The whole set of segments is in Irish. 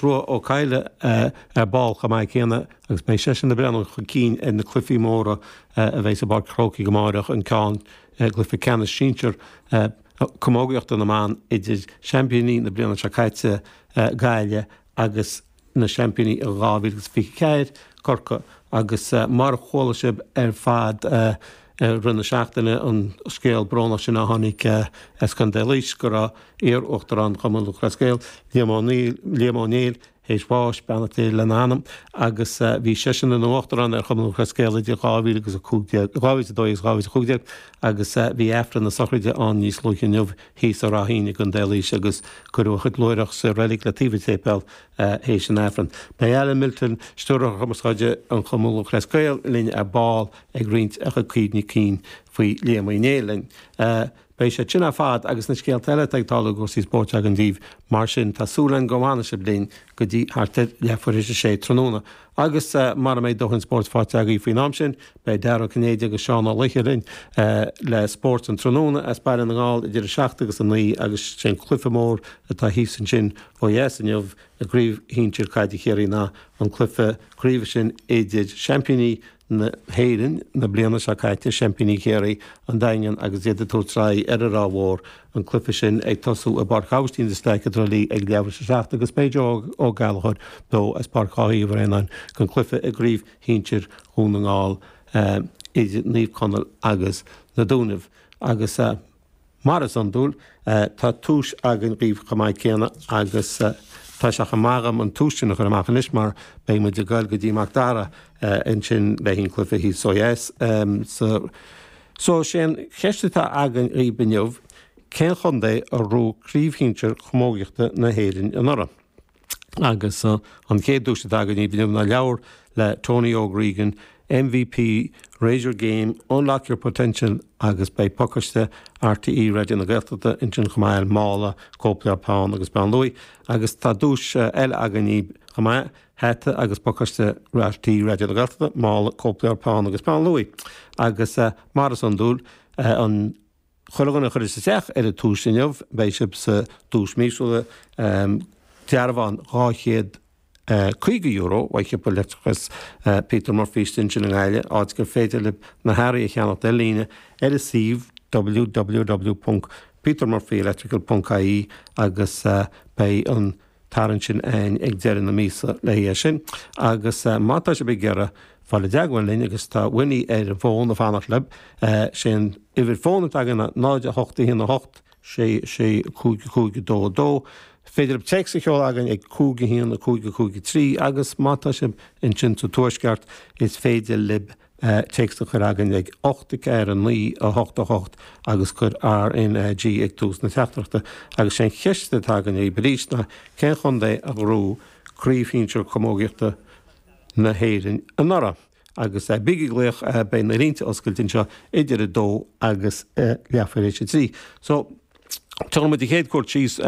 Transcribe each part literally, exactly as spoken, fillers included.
Aonghus Rua Ó Cadhla ar ball chomh maith céanna agus beidh seisean ag breathnú chun cinn ar na cluichí móra a bheidh sa bPáirc Chrócaigh amárach an ceann cluiche ceannais sinsir camógaíochta na mban idir seaimpíní na bliana seo caite Gaillimh agus na seaimpíní i dhá mhíle agus fiche ceathair Corcaigh agus mar a chuala sibh ar fad i rith na seachtaine an scéal brónach sin a tháinig as Contae Laois go raibh iar-uachtarán Chumann Lúthchleas Gael Liam Ó Liam Ó Néill théis bháis, beannacht Dé lena anam, agus bhí seisean ina uachtarán ar Chumann Lúthchleas Gael idir dhá mhíle agus a cúig déag, dhá mhíle is a dó dhéag agus dhá mhíle is a cúig déag agus bhí Aifreann na sochraide ann níos luaithe inniu thíos i Ráth Fhinn i gContae Laois agus cuireadh a chuid luaithreach sa reilig le taobh an tséipéil théis an Aifrinn. Beidh Alan Milton, Stiúrthóir Cumarsáide an Chumann Lúthchleas Gael linn ar ball ag roinnt a chuid cuimhní cinn faoi Liam Uí Néill linn. Beidh sé sin ar fad agus na scéalta eile atá ag tarlú i gcúrsaí spóirt againn daoibh, mar sin tá súil againn go bhfanfaidh sibh linn go dtí thart ar leathuair théis a sé tráthnóna. Agus mara mbeidh dóthain spóirt faighte agaibh faoin am sin, beidh Dara Ó Cinnéide agus Seán Ó Laoithe linn le Spórt an Tráthnóna as Baile na nGall idir a seacht agus a naoi agus sé an cluiche mór atá thíos ansin ó dheas inniu i gCraobh Shinsir Caide Chiarraí ná an cluiche craoibhe sin idir seaimpíní na hÉireann na bliana seo caite, seaimpíní Chiarraí, an Daingean agus iad ag tabhairt aghaidh ar an Ráth Mhór, an cluiche sin ag tosú i bPáirc Aibhistín de Staic i dTrá Lí ag leathuair théis a seacht agus beidh Joe Ó Gallchóir beo as Páirc Dháithí Uí Bhraonáin don chluiche i gCraobh Shinsir Dhún na nGall idir Naomh Conaill agus na Dúnaibh agus Mar is iondúil, tá tomhais againn dhaoibh chomh maith céanna agus tá sé chomh maith agam an tomhas sin a chur amach anois mar beidh muid ag goil go dtí Mac Dara ansin le haghaidh an cluiche thíos ó dheas. So, sé an cheist atá againn dhaoibh inniu, cén chontae a ghnóthaigh Craobh Shinsir Chamógaíochta na hÉireann anuraidh? Agus an chéad duais atá againn inniu ná leabhar le Tony Óg Regan, MVP, Raise Your Game, Unlock Your Potential agus beidh pacáiste RTÉ Raidió na Gaeltachta ansin chomh maith, mála, cóipleabhar, peann agus peann luaidhe. Agus tá duais eile againn daoibh chomh maith, hata agus pacáiste RTÉ Raidió na Gaeltachta, mála, cóipleabhar, peann agus peann luaidhe. Agus mar is iondúil, an chuile dhuine a chuireas isteach ar an tomhas inniu, beidh sibh sa duais míosúla, dearbhán dhá chéad caoga euro ó shiopa leictreachais Peter Murphy istigh ansin i nGaillimh, áit gur féidir libh na hearraí a cheannacht ar líne ar a suíomh www ponc petermurphyelectrical ponc ie agus beidh an tarraingt sin againn ag deireadh na míosa le haghaidh é sin. Agus má tá sibh ag iarraidh fáil i dteagmháil linn agus tá Winnie ar an bhfón ag fanacht libh, sé an uimhir fóin atá againn ná náid a hocht a haon a hocht sé sé cúig cúig dó dó. Féidir libh téacs a sheoladh againn ag cúig a haon a cúig a cúig a trí agus má tá sibh ansin sa Tuaisceart is féidir libh téacs a chur againn ag ocht a ceathair a naoi a hocht a hocht agus cuir RNAG ag tús na teachtaireachta. Agus sé an cheist atá againn dhaoibh arís ná cén chontae a ghnóthaigh Craobh Shinsir Camógaíochta na hÉireann anuraidh? Agus bígí ag glaoch, beidh na línte oscailte anseo idir a dó agus leathuair théis a trí. So, tabharfaidh muid an chéad cuairt síos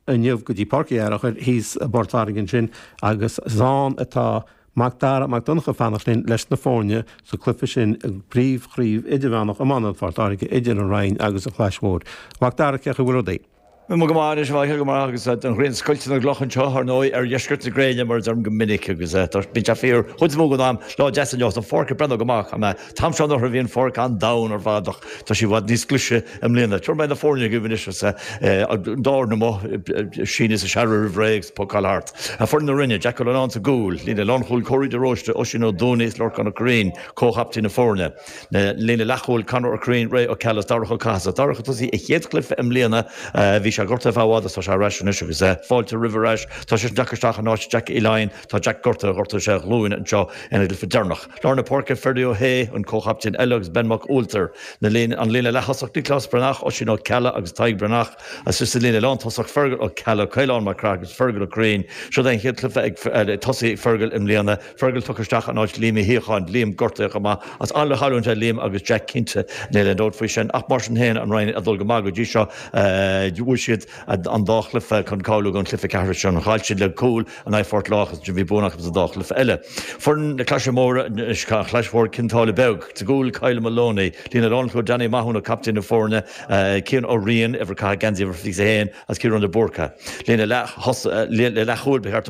inniu go dtí Páirc Uí Fhearchair thíos i bPort Láirge ansin agus is ann atá Mac Dara Mac Donncha ag fanacht linn leis na foirne sa cluiche sin i bpríomhchraobh idirmheánach iomána Phort Láirge idir an Rinn agus an Chlais Mhóir. Mac Dara, cén chaoi a bhfuil rudaí? Bhí mé go maith anois, a Mhichael, go maith agus an ghrian ag scoilteadh na gcloch anseo, ar ndóigh, ar dheisceart na gréine, mar a deirim go minic, agus bíonn sé fíor chuid is mó den am. Lá deas inniu, tá an pháirc ag breathnú go maith. An t-am seo anuraidh bhí an pháirc an-domhain ar fad ach tá sí i bhfad níos glaise i mbliana. Tabharfaidh mé na foirne agaibh anois agus an dá fhoireann amuigh, síneadh is searradh roimh ré agus pocáil thart. Foireann na Rinne, Jack Ó Leannáin sa gcúl, líne lánchúil Córaí de Róiste, Oisín Ó Dúnaí is Lorcán Ó Curraoin, comhchaptaein na foirne. Líne leathchúil, Conor Ó Curraoin, Ray Ó Ceallaigh is Darach Ó Cathasaigh. Darach ag tosaí a chéad chluiche i mbliana. Bhí sé gortaithe ar feadh i bhfad agus tá sé ar ais anois agus fáilte roimhe ar ais. Tá seisean tagtha isteach in áit Jack Uí Laighin. Tá Jack gortaithe, ghortaigh sé a ghlúin anseo ina gcluiche deireanach. Lár na páirce, Ferdie Ó hAodha, an comhchaptaen eile agus Ben Mac Ualtair. Na líne, an líne leath-thosach, Nioclás Breathnach, Oisín Ó Ceallaigh agus Tadhg Breathnach. Agus sa líne lántosach, Fergal Ó Ceallaigh, Caolán Mac Craith agus Fergal Ó Curraoin. Seo é an chéad chluiche ag tosaí ag Fergal i mbliana. Fergal tugtha isteach in áit Liam Uí Shíocháin, Liam gortaithe chomh maith. Is an-chailliúint é Liam agus Jack cinnte, níl aon dabht faoi sin. Ach mar sin féin, an Rinn ag dul go maith go dtí seo. Bhuaigh siad an dá chluiche chun cáiliú don chluiche ceathrú sin. Chaill siad le cúl in aghaidh Phort Láirge agus bhí buanna acu sa dá chluiche eile. Foireann na Claise Móire anois, An Chlais Mhór Cionn tSáile Beag. Sa gcúl, Kyle Moloney. Líne lánchúil, Danny Mathúna, captaen na foirne, Cian Ó Riain, uimhir caitheamh geansaí uimhir fiche a haon, agus Ciarán de Búrca. Líne leath-chúil, ba cheart dom.